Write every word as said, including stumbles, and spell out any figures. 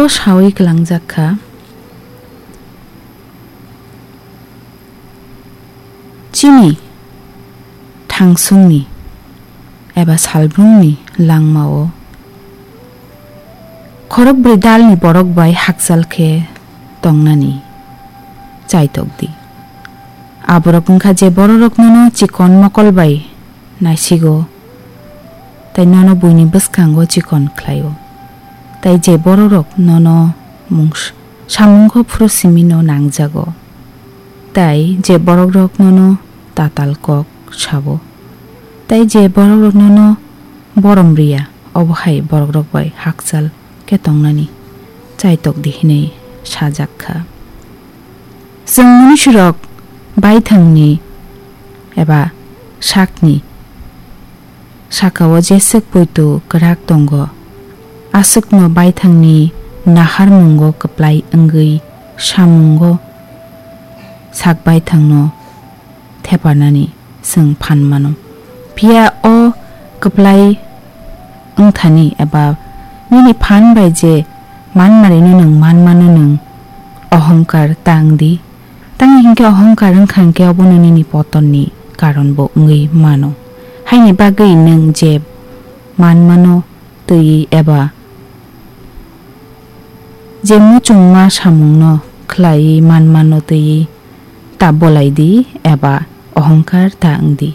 sawi kwlangjak kha. Chini thangsungni eba salbrumni langmao khorokbrwi dalni borok bai hakchal khe tongnani chaitok di. Aborok wngkha je bororok nono chikon mokol bai naisigo, tei nono buini bwskango chikon khlaio, tei je bororok nono mung s-, samungo phuru simino nangjago, tei je borokrok nono tatal kok sabo, tei je borokrok nono borom riya, obo hai borokrok bai hakchal khe tongnani chaitok di hinwi sajak kha. Chwng munisirok baithangni eba sakni sakao jeswk poito kwrak tongo, aswkno baithangni naharmungo kwplai wngwi samungo sak baithangno theparnani chwng phan mano. Phiya o kwplai wngthani eba nini phan bai je manmarino nwng manmano nwng ohongkar ta wng di. Tamni hinkhe ohongkar wngkha hinkhe obono nini potonni karonbo wngwi mano. Haini bagwi nwng je manmano twiwi eba je muchungma samungno khlaiwi manmano twiwi ta bolai di eba ohongkar ta wng di.